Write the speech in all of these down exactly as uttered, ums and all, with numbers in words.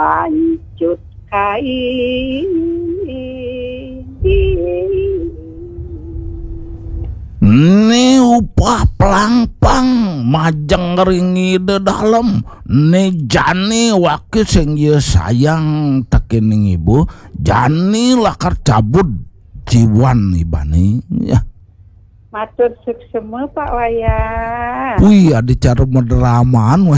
Pancut kain. Ni upah pelangpang majeng ring Ida Dalem. Ni jani wake sing ya sayang tekening ibu, jani lakar cabut jiwan ibane. Ya. Matur suksema, Pak Wayan. Wih, ada cara madraman.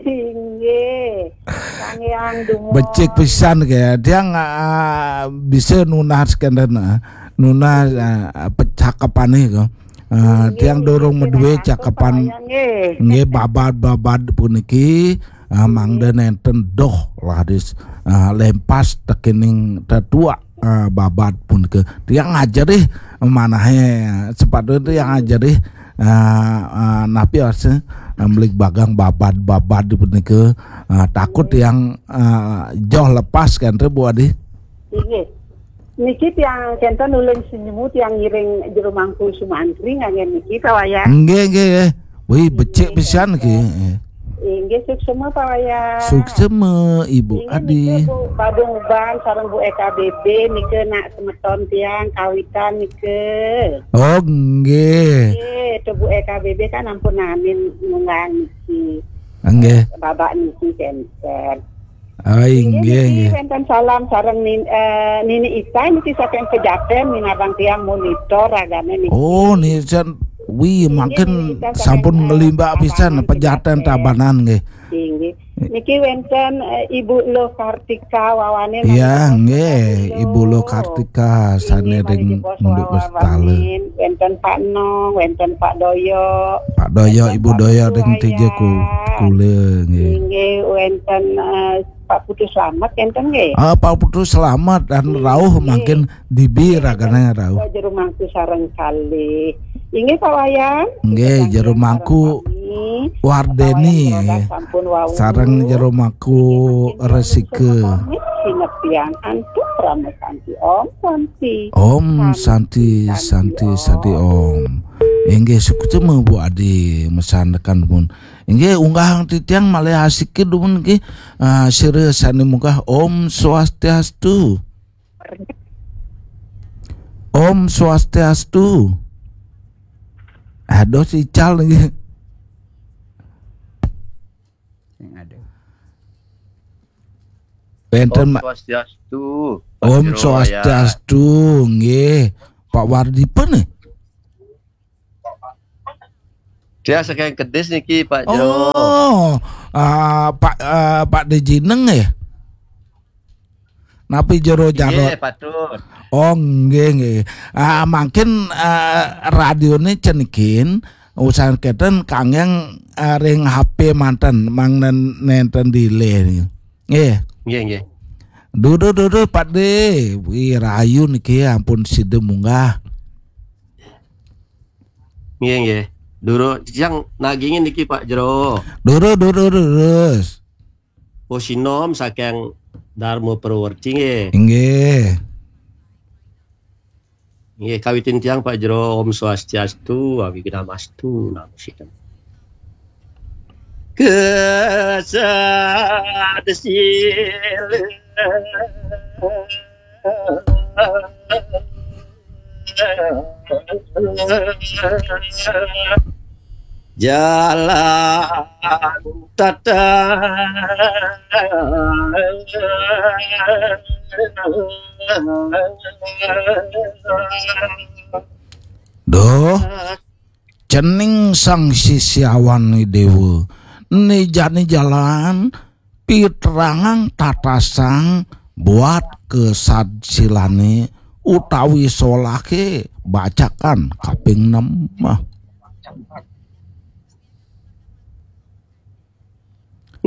Inggih. Sangyang dumun. Becik pisan ke. Tiang, ah, bisa nunas kenten, ah, nunas, ah, pecakepane ke. Ah, inggih, tiang durung inggih, maduwe cakepan. Pak Wayan, nggih. Nggih, babad-babad puniki, ah, mangda nenten doh laris, ah, lempas tekening tetuak, ah, babad punika. Tiang ajerih manahe, sepatutnya tiang ajerih, ah, ah, napi asa, ah, mligbagang babad-babad punika, ah, takut tiang, ah, joh lepas kan, Bu Adi. Inggih. Niki tiang kenten ulun senyemu tiang ngiring Jero Mangku Sumantri nganggen niki, Pak Wayan. Nggih, nggih, nggih. Wih, becik pisan nggih. Inggih, suksema, Pak Wayan. Suksema, Ibu Adi. Inggih, niki Bu Badung Uban sareng Bu E K B B nika nak semeton tiang kawitan nika. Oh, nggih. Nggih, to Bu E K B B kan ampun namin ngunggah niki. Nggih. Babak niki kenten. Ah, inggih, inggih, niki inggih. Wenten salam sareng nin-, eh, Nini Ita niki saking Pejaten, minabang tiang monitor ragane niki. Oh, nisan, wih, inggih, mangkin Nini Ita saking, sampun eh, ngelimbak pisan Tabanan Pejaten, Pejaten. Tabanan, nggih. Inggih. Niki wenten, eh, Ibu Luh Kartika wawane. Iya, mangkin nggih, Ibu Luh Kartika. Inggih, sane ring Munduk Westala. Wenten Pak Nong, wenten Pak Doyo. Pak Doyo, wenten Ibu Doyo ring Tija ku-, Kula, nggih. Inggih, wenten, eh, Pak Putu Slamet, enten nggih? Ah, Pak Putu Slamet dan rauh mangkin dibi ragane rauh. Jero Mangku sareng kalih. Inggih, Pak Wayan. Nggih, Jero Mangku Wardeni, Pak Wayan, nggih. Sareng Jero Mangku Resika. Sinepian antuk Rama Santi. Om Santi. Om Santi, Santi, Santi, Om. Inggih, suksema Bu Adi mesandekan pun. Inggih, unggahang titiang malih asiki dumun nggih, ah, sira sane munggah. Om Swastiastu. Om Swastiastu. Aduh, sical nggih. Sing ada. Wenten, Om Swastiastu, Pak Jero Wayan. Swastiastu, nggih. Pak Wardi pun nih? Dia saking Kedis niki, Pak Jero. Oh, ah, Pak, ah, Pak Dejineng ya? Napi Jero Jarot? Nggih, patut. Oh, nggih, nggih. Ah, mangkin, ah, radione cenikin, usahaken kenten kanggeng, ah, ring H P manten, mangda nenten delay niki. Nggih. Nggih, nggih. Duduh, duduh, Pak De. Wih, rahayu niki ampun sida munggah. Nggih, nggih. Durung, titiang nagingin niki, Pak Jero. Durus, durus, durus. Pusinom saking Dharma Purwerti nggih. Nggih. Nggih, kawitin tiang, Pak Jero. Om Swastiastu, Awighnamastu, Namo Sidam. Kesad sila. Jalan tata. Duh, cening Sang Sisyawan Dewa, nijani jalan, pitrangang tatasang buat kesad silane utawi solake bacakan kaping enam.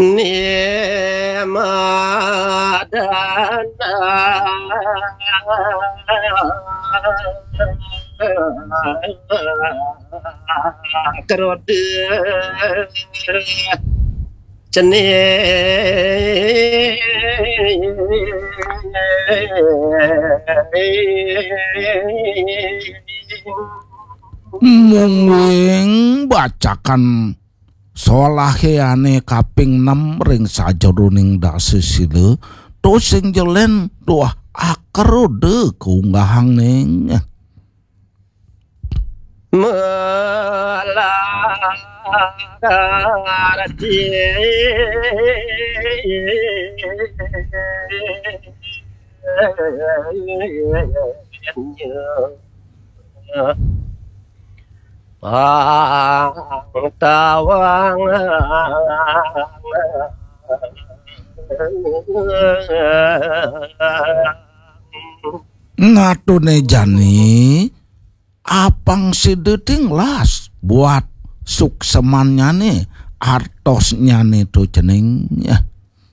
Nimadana keroda cening. Mungguing bacakan Solahé ané kaping enem ring sajeroning dasa sila, to sing jelen tuah akroda kaunggahang ning. Pangtawang. Natune jani apang sida tinglas buat suksemannyane, artosnyane to cening.